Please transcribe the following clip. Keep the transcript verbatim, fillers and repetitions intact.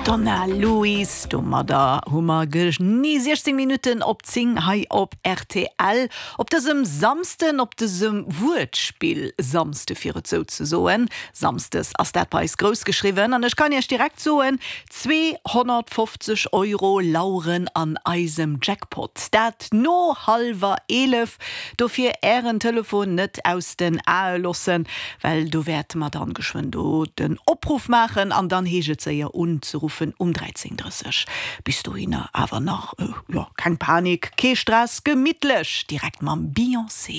Donna Lewis, domadder hu mer genee siechzéng Minutten op zéng hei op R T L. Op dësem Samsden, op dësem Wuertspill Samsde fir et sou ze soen. Samsdes ass dat bei eis grouss geschriwwen an ech kann Iech direkt soen, zweehonnertfofzeg Euro laueren an eisem Jackpot. Dat no hallwer eelef. Dofir Ären Telefon net aus den Ae loossen, well do wäerte mer dann geschwënn do den Opruff maachen an dann heescht et séier unzeruffen um dräizéng drësseg. Bis dohinner awer nach, jo, keng Panik, kee Stress, gemittlech direkt mam Beyoncé.